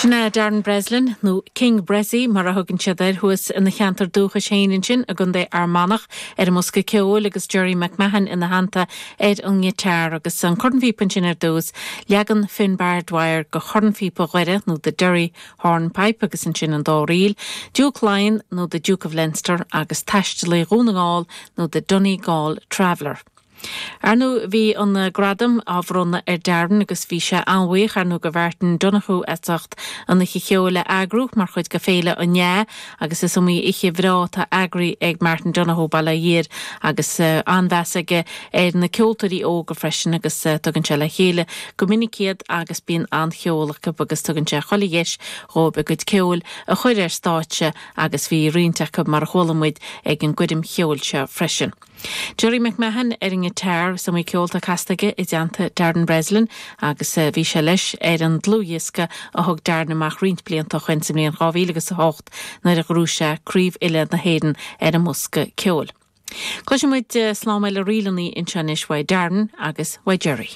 Sin é Darren Breslin, nó King Bressie mar a thugann siad air thuas ina cheantar dúchais féin ansin i gContae Fhear Manach, ar an mbosca ceoil agus Gerry McMahon ina theannta ar an ngiotár. Agus an cornphíopa ansin ar dtús, leagan Finbar Dwyer de chornphíopa Dhoire nó The Derry Hornpipe agus ansin an dá ríl, Diúc Laighean nó The Duke of Leinster agus Taistealaí Dhún na nGall nó The Donegal Traveller. Ar ndóigh, bhí an gradam á bhronnadh ar Darren agus bhí sé an-bhuíoch, ar ndóigh, de Mhartin Donohoe as ucht an oíche cheoil a eagrú mar chuid de Féile an Fheá agus is iomaí oíche bhreá atá eagraithe ag Martin Donohoe, Baile Átha Fhirdh, agus an-mheas aige ar na ceoltóirí óga freisin agus tugann sé le chéile go minic iad agus bíonn an-cheol acu agus tugann sé chuile dheis dhóibh a gcuid ceoil a chur ar stáitse agus bhí roinnt acu mar a chuala muid ag an gcoirm cheoil seo freisin. Gerry McMahon ar an ngiotár, is iomaí ceol atá casta aige i dteannta Darren Breslin agus bhí sé leis ar an dlúthdhiosca a thug Darren amach roinnt blianta ó shoin sa mbliain 2008 nuair a ghnóthaigh sé Craobh Uile na hÉireann ar an mbosca ceoil. Cloisfidh muid slám eile ríleanna anseo anois uaidh Darren agus uaidh Gerry.